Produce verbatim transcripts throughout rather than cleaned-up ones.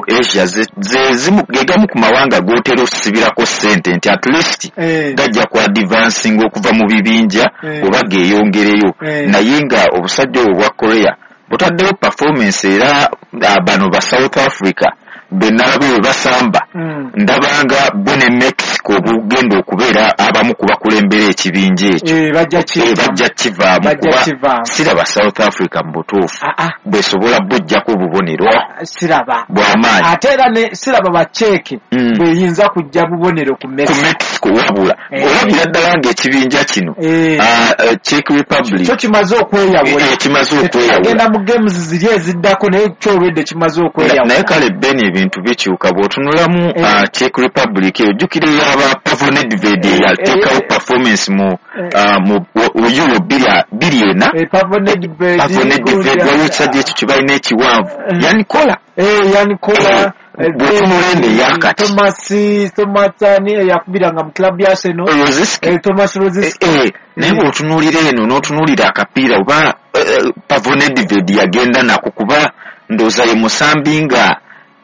mu Asia gegamu ku mawanga g'otera osibirako ssente nti at least gajja ku advancing okuva mu bibinja oba geeyongereyo, naye nga obusajja obwo bwa Korea butaddewo performance. Era bano ba South Africa benalabye bwe basamba, ndabanga bo ne Mexico bugenda okubeera abamu ku bakulembera ekibinja ekyo, bajja kivaamu, kuba siraba South Africa mu butuufu bwesobola bujjako obubonero siraba bw'amaanyi. Ate era ne siraba baceeke bweyinza kujja bubonero ku Mexico, wabula olabira ddala ng'ekibinja kino Czech Republic kyo kimaze okweyawula, kimaze okweyawula, agenda mu games ziri eziddako, naye kyo olwedde kimaze okweyawula. Naye kale Ben, ebintu bikyuka bw'otunulamu Czech Republic ojjukira eyaba Pavel Nedved yateekawo performance mu mu Euro bbiri ena, Pavel Nedved waliwo ekisajja ekyo kye balina ekiwanvu Yanikola Yanikola bw'otunula eno eyakati Thomas ani eyakubiranga mu club ya Arsenal, Thomas Rosicky. Naye bw'otunuulira eno n'otunuulira akapiira oba Pavel Nedved yagenda nako, kuba ndowooza ye musambi nga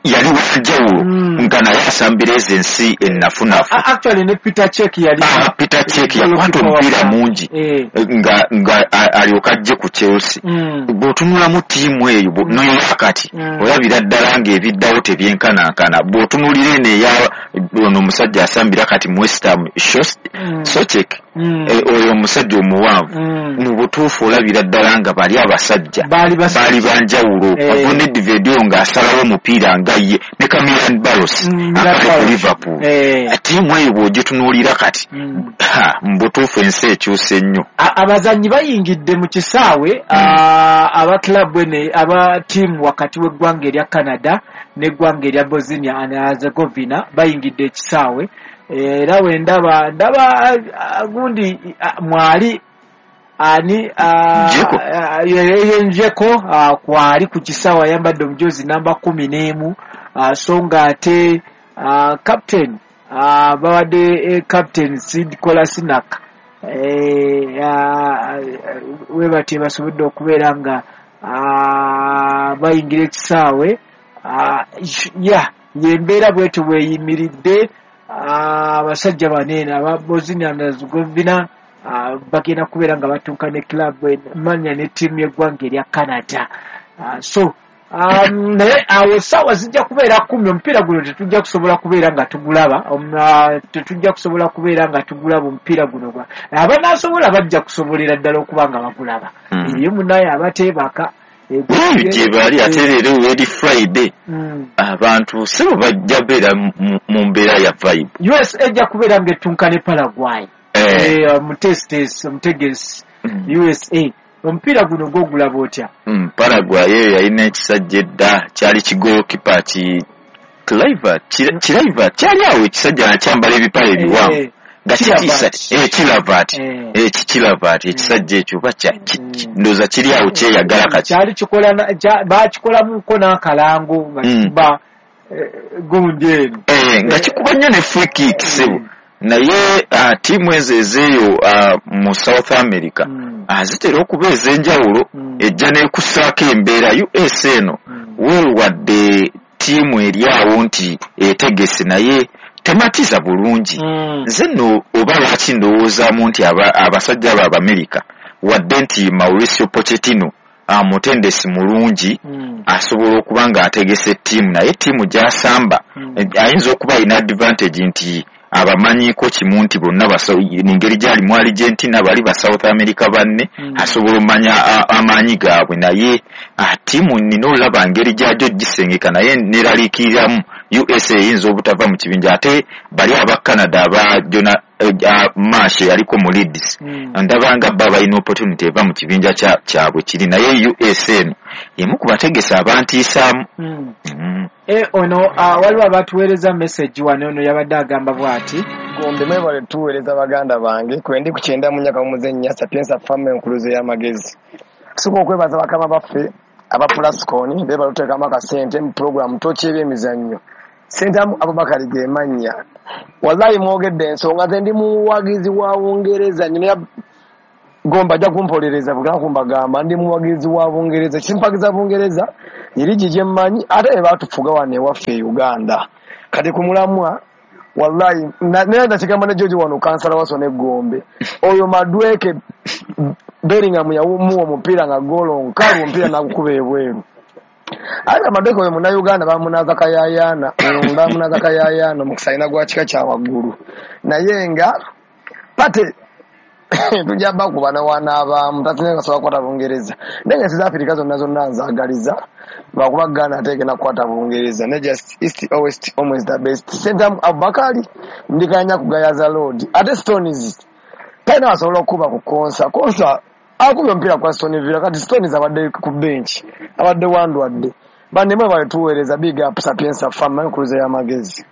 yali wanjawulo nga naye asambira ezo ensi ennafunafu. Actually ne Peter Cech yali Peter Cech yakwata omupiira mungi nga nga alyoka ajje ku Chelsea. Bw'otunulamu ttiimu eyo n'eyakati olabira ddala ng'ebiddawo tebyenkanankana. Bw'otunuulira eno eya ono omusajja asambira kati mu West Ham, Soucek, oyo omusajja omuwanvu, mu butuufu olabira ddala nga bali abasajja baali banjawulo. Pavel Nedved oyo ng'asalawo omupiira nga ye ne Camille Barros akali ku Liverpool. Ttiimu eyo bw'ogitunuulira kati mu butuufu ensi ekyuse nnyo. Abazannyi bayingidde mu kisaawe aba club ene aba ttiimu wakati w'eggwanga erya Canada n'eggwanga erya Bosnia and Herzegovina bayingidde ekisaawe. Era we ndaba ndaba gundi mwali ani Njeko kwali ku kisaawe ayambadde omujozi namba kumi n'emu, so nga ate captain bawadde captain Sid Kolasinac we batye basobodde okubeera nga bayingira ekisaawe. Ya yembeera bwetyo bweyimiridde. Abasajja banene aba Bosnia and Herzegovina bagenda kubeera nga batuuka ne club manya ne ttiimu y'eggwanga erya Canada. So naye awo essaawa zijja kubeera kumi, omupiira guno tetujja kusobola kubeera nga tugulaba, tetujja kusobola kubeera nga tugulaba omupiira guno. Abanaasobola bajja kusobolera ddala okuba nga bagulaba. Eyo munaye abateebaka gye bali, ate leero eri Friday abantu si bo bajja beera mu mbeera ya vibe. U S A ejja kubeera ng'ettunka ne Paraguay mutesitesi omutegesi U S A. Omupiira guno gw'ogulaba otya? Paraguay eyo yalina ekisajja edda kyali kigolokipa ki Cliver kyali awo ekisajja nakyambala ebipale ebiwanvu nga kitiisa Kilavat Kilavat ekisajja ekyo oba ndowooza kiri awo kyeyagala kati kyali kikola baakikolamuko n'akalango nga kikuba gundi eno nga kikuba nnyo ne free kick ssebo. Naye ttiimu ezo ezeeyo mu South America zitera okuba ez'enjawulo, ejja n'ekussaako embeera. U S eno weewadde ttiimu eri awo nti etegese naye tematiza bulungi. Nze nno oba lwaki ndowoozaamu nti abasajja abo Abamerika, wadde nti Mauricio Pochettino mutendesi mulungi asobola okuba ng'ategese ttiimu, naye ttiimu gy'asamba ayinza okuba alina advantage nti abamanyiiko kimu nti bonna engeri gyali mu Argentina bali ba South America banne, asobola omanya amaanyi gaabwe. Naye ttiimu nina olaba ngeri gyagyo gisengeka, naye neraliikiriramu U S A eyinza obutava mu kibinja. Ate bali aba Canada aba Jona Marsh yaliko mu Leeds, ndaba nga bba balina opportunity eva mu kibinja kyabwe kiri, naye U S A eno emu ku bategesi abantiisaamu. Ono waliwo abatuweereza message wano, ono yabadde agamba bw'ati: Gombe mwebale tuweereza baganda bange, kwendi ku kyenda mu nyaka mumuzennya Sapienza Farm enkuluze y'amagezi. Tusooka okwebaza bakama baffe aba Plascon beebale otuteekamu akasente mu pulogulaamu Tooki y'ebyemizannyo. Ssentamu Abubakari ge mannya. Wallahi mwogedde ensonga, nze ndi muwagizi wa Bungereza nnyo. Gomba ajja kumpolereza bugana kumbagamba ndi muwagizi wa Bungereza, kimpagiza Bungereza erigi gye mmanyi ate batufuga wano ewaffe e Uganda. Kati ku mulamwa wallahi naye nakigamba ne George wano kansala waso ne Gombe oyo Madweke Bellingham yawumuwa omupiira nga golo nkalu omupiira nagukuba ebweru. Ate Madweke oyo munnayuganda bamunaza kayayaana bamunaza kayayaana omukisa alina gwa kika kya waggulu, naye nga pate tujja bakuba nawanaabamu tasinga kasobola kukwata Bungereza, naye ensi za Afirika zonna zonna nzaagaliza lwakuba Ghana ate egenda kukwata Bungereza ne just east or west always the best. Sentamu Abubakari ndikanya kugayaza load ate Stones talina asobola okukuba ku Konsa. Konsa akubye omupiira kwa Stone Villa, kati Stones abadde ku bench abadde wandwadde. Bannemwe baletuweereza big up Sapienza Farm enkuluze y'amagezi.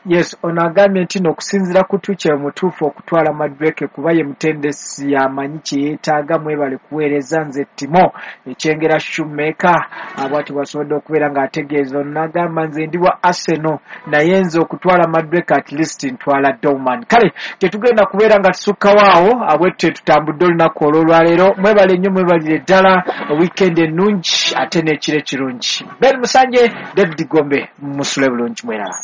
Yes, ono agambye nti n'okusinziira ku Tuchel mutuufu okutwala Madweke kuba ye mutendesi yamanyi kye yeetaaga. Mwebale kuweereza, nze Timo Ekyengera Shoemaker bw'atyo bw'asobodde okubeera ng'ategeeza. Ono n'agamba nze ndi wa Arsenal naye nze okutwala Madweke at least ntwala Dortmund. Kale tetugenda kubeera nga tusukkawo awo, bwetyo tutambudde olunaku olw'olwaleero. Mwebale nnyo, mwebalire ddala, weekend ennungi ate n'ekiro ekirungi. Ben Musanje, David Gombe, musule bulungi mweraba.